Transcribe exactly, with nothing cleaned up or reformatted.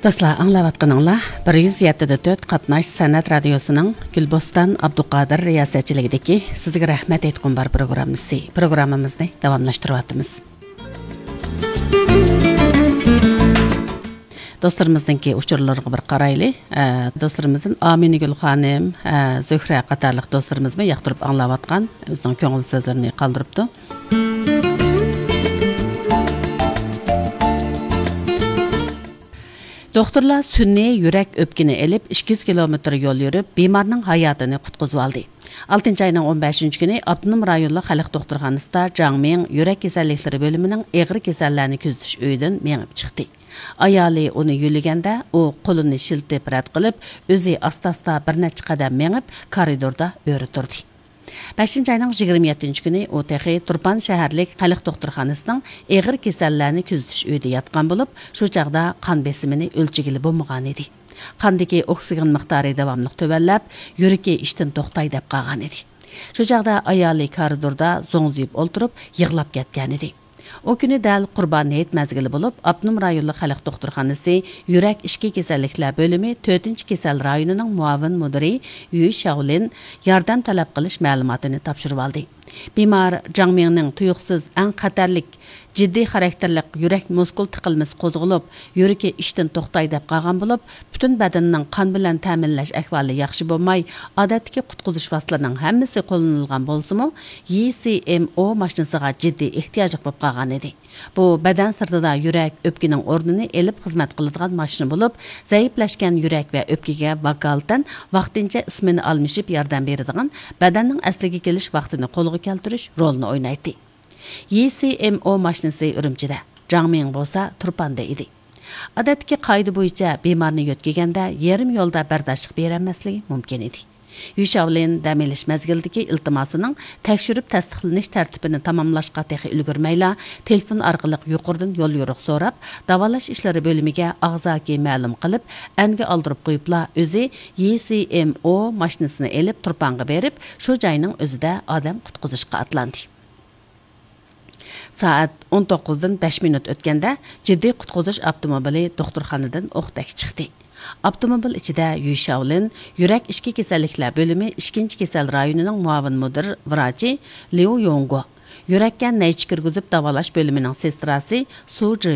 دوستلار، ئاڭلاۋاتقىنىڭلار بىر يۈز يەتتە دە تۆت قاتناش سەنئەت رادىيوسىنىڭ گۈلبوستان ئابدۇقادىر رىياسەتچىلىكىدىكى سىزگە رەھمەت ئېيتقۇم بار پروگراممىسى. پروگراممىمىزنى داۋاملاشتۇرۇۋاتىمىز. دوستلىرىمىزنىڭكى ئۇچۇرلىرىغا بىر قارايلى. ئە، دوستلىرىمىزدىن ئامىنىگۈل خانىم، ئە، زۆھرە قاتارلىق دوستلىرىمىزمۇ ياقتۇرۇپ ئاڭلاۋاتقان، ئۆزىنىڭ كۆڭۈل سۆزلىرىنى قالدۇرۇپتۇ. دوختۇرلار سۈنئىي يۈرەك ئۆپكىنى ئېلىپ، ئىككى يۈز كىلومېتىر يول يۈرۈپ، بىمارنىڭ ھاياتىنى قۇتقۇزۇۋالدى. ئالتىنچى ئاينىڭ ئون بەشىنچى كۈنى ئاپتونوم رايونلۇق خەلق دوختۇرخانىسىدا جاڭ مىڭ يۈرەك كېسەللىكلىرى بۆلۈمىنىڭ ئېغىر كېسەللەرنى كۆزىتىش ئۆيىدىن مېڭىپ چىقتى. ئايالى ئۇنى يۆلىگەندە، ئۇ قولىنى شىلتىپ رەت قىلىپ، ئۆزى ئاستا-ئاستا بىر نەچچە قەدەم مېڭىپ، كارىدوردا ئۆرە تۇردى. بەشىنچى ئاينىڭ يىگىرمە يەتتىنچى كۈنى ئۇ تېخى تۇرپان شەھەرلىك خەلق دوختۇرخانىسىنىڭ ئېغىر كېسەللەرنى كۆزىتىش ئۆيىدە ياتقان بولۇپ، شۇ چاغدا قان بېسىمىنى ئۆلچىگىلى بولمىغانىدى. قاندىكى ئوكسىگېن مىقدارى داۋاملىق تۆۋەنلەپ، يۈرىكى ئىشتىن توختاي دەپ قالغانىدى. شۇ چاغدا ئايالى كارىدوردا زوڭزىيىپ ئولتۇرۇپ، يىغلاپ كەتكەنىدى. ئۇ كۈنى دەل قۇربان ھېيت مەزگىلى بولۇپ، ئاپتونوم رايونلۇق خەلق دوختۇرخانىسى يۈرەك ئىچكى كېسەللىكلەر بۆلۈمى تۆتىنچى كېسەل رايونىنىڭ مۇئاۋىن مۇدىرى يۈ شياۋلىن ياردەم تەلەپ قىلىش مەلۇماتىنى تاپشۇرۇۋالدى. بىمار جاڭ مىڭنىڭ تۇيۇقسىز ئەڭ خەتەرلىك، جىددىي خاراكتېرلىك يۈرەك مۇسكۇل تىقىلمىسى قوزغىلىپ، يۈرىكى ئىشتىن توختاي دەپ قالغان بولۇپ، پۈتۈن بەدىنىنىڭ قان بىلەن تەمىنلەش ئەھۋالى ياخشى بولماي، ئادەتتىكى قۇتقۇزۇش ۋاسىتىلىرىنىڭ ھەممىسى قوللىنىلغان بولسىمۇ، يى سى ئېم ئو ماشىنىسىغا جىددىي ئېھتىياجلىق بولۇپ قالغانىدى. بۇ بەدەن سىرتىدا يۈرەك، ئۆپكىنىڭ ئورنىنى ئېلىپ خىزمەت قىلىدىغان ماشىنا بولۇپ، زەئىپلەشكەن يۈرەك ۋە ئۆپكىگە ۋاكالىتەن ۋاقتىنچە ئىسمېنا ئالمىشىپ ياردەم بېرىدىغان، بەدەننىڭ ئەسلىگە كېلىش ۋاقتىنى قولغا كەلتۈرۈش رولىنى ئوينايتتى. يى سى ئېم ئو ماشىنىسى ئۈرۈمچىدە، جاڭ مىڭ بولسا تۇرپاندا ئىدى. ئادەتتىكى قائىدە بويىچە بىمارنى يۆتكىگەندە يېرىم يولدا بەرداشلىق بېرەلمەسلىكى مۇمكىن ئىدى. يۈ شياۋلىن دەم ئېلىش مەزگىلىدىكى ئىلتىماسىنىڭ تەكشۈرۈپ تەستىقلىنىش تەرتىپىنى تاماملاشقا تېخى ئۈلگۈرمەيلا، تېلېفون ئارقىلىق يۇقىرىدىن يوليورۇق سوراپ، داۋالاش ئىشلىرى بۆلۈمىگە ئاغزاكى مەلۇم قىلىپ، ئەنگە ئالدۇرۇپ قويۇپلا، ئۆزى يى سى ئېم ئو ماشىنىسىنى ئېلىپ تۇرپانغا بېرىپ، شۇ جاينىڭ ئۆزىدە ئادەم قۇتقۇزۇشقا ئاتلاندى. سائەت ئون توققۇزدىن بەش مىنۇت ئۆتكەندە، جىددىي قۇتقۇزۇش ئاپتوموبىلى دوختۇرخانىدىن ئوقتەك چىقتى. ئاپتوموبىل ئىچىدە يۈ شياۋلىن، يۈرەك ئىچكى كېسەللىكلەر بۆلۈمى ئىككىنچى كېسەل رايونىنىڭ مۇئاۋىن مۇدىر ۋراچى ليۇ يونگو، يۈرەككە نەيچە كىرگۈزۈپ داۋالاش بۆلۈمىنىڭ سېستراسى سۇ جى